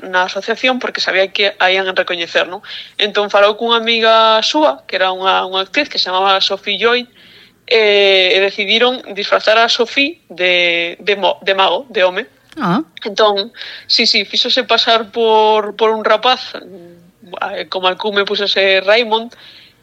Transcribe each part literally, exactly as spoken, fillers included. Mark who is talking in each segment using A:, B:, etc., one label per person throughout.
A: entrar na asociación porque sabía que a ian recoñecer, non? Entón falou cunha amiga súa, que era unha, unha actriz que se chamaba Sophie Joy, e, e decidiron disfrazar a Sophie de, de, mo, de mago, de home.
B: Ah.
A: Entón, sí, sí, fíxose pasar por, por un rapaz, como alcume pusose Raymond,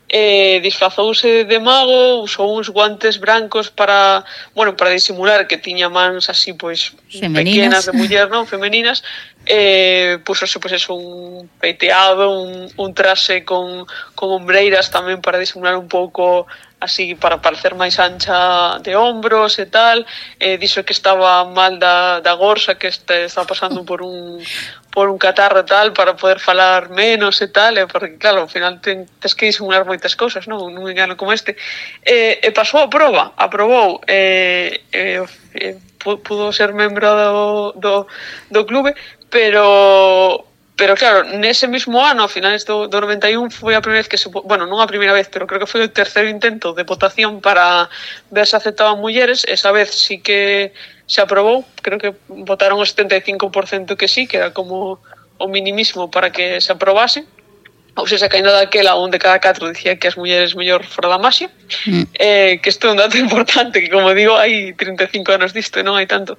A: eh, disfrazouse de mago, usou uns guantes brancos para, bueno, para disimular que tiña mans así, pois,
B: femeninas.
A: pequenas de muller, non, femeninas, eh, pusose, pois, eso, un peiteado, un, un traxe con, con ombreiras tamén para disimular un pouco, así, para parecer máis ancha de hombros e tal, eh, dixo que estaba mal da, da gorsa, que este, estaba pasando por un por un catarro e tal, para poder falar menos e tal, e porque, claro, ao final ten, tens que disimular moitas cousas, non? Nun engano como este. E, e pasou a proba, aprobou, e, e, e pudo ser membro do, do, do clube, pero... Pero claro, nese mismo ano, a finales do, do noventa e un, foi a primeira vez que se... Bueno, non a primeira vez, pero creo que foi o terceiro intento de votación para ver se aceptaban mulleres. Esa vez sí que se aprobou. Creo que votaron o setenta e cinco por cento que sí, que era como o minimismo para que se aprobase. Ou seja, que ainda daquela un de cada catro dicía que as mulleres mellor fora da maxia. Mm. Eh, que isto é un dato importante, que como digo, hai trinta e cinco anos disto e non hai tanto.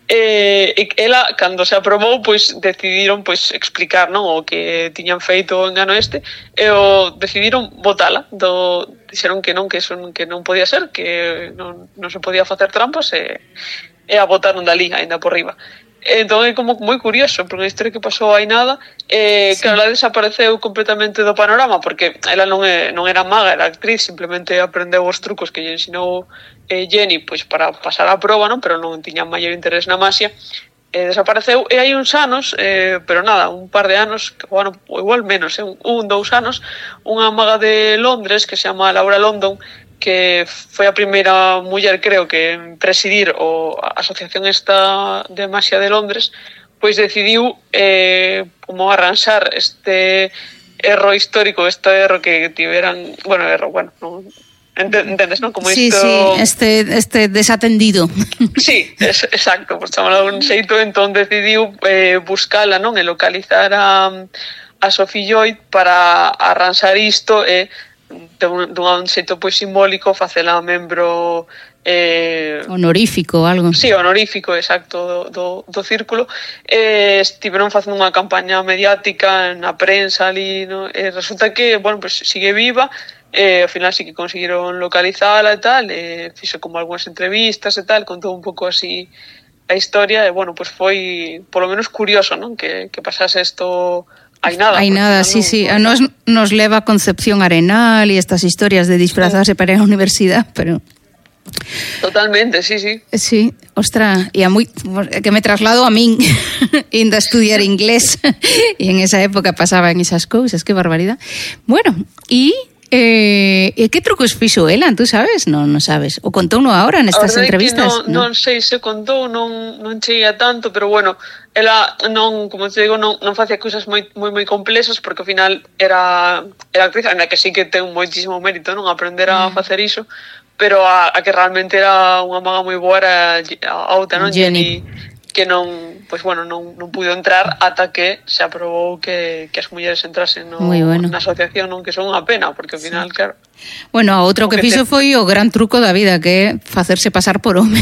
A: Eh, e ela, cando se aprobou, pois decidiron pois explicar, non, o que tiñan feito o engano este, e o decidiron votala. Do, dixeron que non, que eso que non podía ser, que non, non se podía facer trampas, e, e a votaron dali, ainda por riba. Entón é como moi curioso, porque a historia que pasou hai nada, eh, sí. Que ela desapareceu completamente do panorama, porque ela non, é, non era maga, era actriz, simplemente aprendeu os trucos que lle ensinou eh, Jenny pois para pasar a proba, non? Pero non tiña maior interés na maxia, eh, desapareceu, e hai uns anos, eh, pero nada, un par de anos, bueno, igual menos, eh, un, un, dous anos, unha maga de Londres que se chama Laura London, que foi a primeira muller, creo que, en presidir o, a Asociación esta de Maxia de Londres, pois decidiu eh, como arranxar este erro histórico, este erro que tiveran, bueno, erro, bueno, non, entendes, non? Como
B: sí,
A: isto...
B: sí, este, este desatendido.
A: Sí, es, exacto, por chamalo de un xeito, entón decidiu eh, buscala, non? E localizar a, a Sophie Joy para arranxar isto e dun, dun xeito pois simbólico facela membro eh,
B: honorífico, algo.
A: Sí, honorífico, exacto, do, do, do círculo. Eh, estiveron facendo unha campaña mediática na prensa ali, no? E resulta que, bueno, pues sigue viva, e ao final sí que conseguiron localizala e tal, e fixo como algunhas entrevistas e tal, contou un pouco así a historia, e bueno, pues foi polo menos curioso, non? Que, que pasase isto. Hai nada.
B: Hai nada, sí, sí. A nos nos leva a Concepción Arenal e estas historias de disfrazarse sí. para ir á universidade, pero...
A: Totalmente, sí, sí.
B: Sí, ostra, e a moi... que me traslado a min indo a estudiar inglés e en esa época pasaban esas cousas, que barbaridade. Bueno, e... Eh, e que trucos fixo ela, tú sabes? Non, non sabes. O contou no agora nestas entrevistas?
A: Non, non, non sei se contou, non, non cheguei a tanto, pero bueno, ela non, como te digo, non, non facía cousas moi, moi, moi complexas, porque ao final era, era actriz, ainda que sí que ten moitísimo mérito, non, aprender a mm. facer iso, pero a, a que realmente era unha maga moi boa era a outra, non?
B: Jenny.
A: Que non, pois bueno, non, non pudo entrar ata que se aprobou que, que as mulleres entrasen no,
B: bueno.
A: na asociación, non, que son unha pena, porque ao final, sí. claro...
B: Bueno, a outro que, que fixo te... foi o gran truco da vida, que é facerse pasar por home.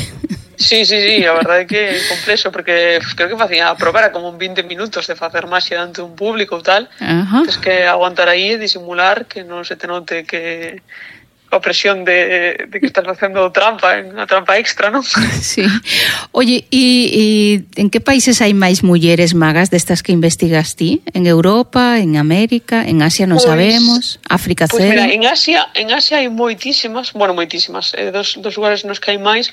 A: Sí, sí, sí, a verdade é que é complexo, porque creo que facía a probar era como vinte minutos de facer maxia diante un público ou tal,
B: Ajá.
A: Tens que aguantar aí e disimular que non se te note que... a presión de, de que estás facendo trampa, unha trampa extra, non?
B: Sí. Oye, e, e en que países hai máis mulleres magas destas que investigas ti? En Europa, en América, en Asia non pues, sabemos, África
A: pues
B: cero?
A: Mira, en Asia, en Asia hai moitísimas, bueno, moitísimas, eh, dos, dos lugares nos que hai máis,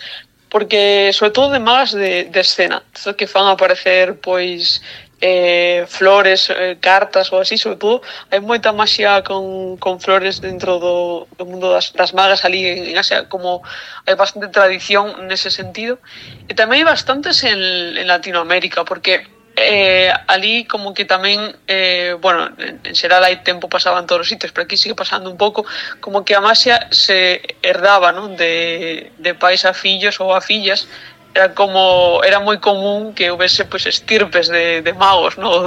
A: porque, sobre todo, de magas de, de escena, que fan aparecer, pois... Eh, flores, eh, cartas ou así, sobre todo hai moita maxia con, con flores dentro do, do mundo das, das magas ali en, en Asia, como hai bastante tradición nese sentido, e tamén hai bastantes en, en Latinoamérica, porque eh, ali como que tamén eh, bueno, en, en xeral hai tempo pasaba en todos os sitios, pero aquí sigue pasando un pouco como que a maxia se herdaba, non? De, de pais a fillos ou a fillas. Era como era moi común que houvese pois estirpes de, de magos, ¿no?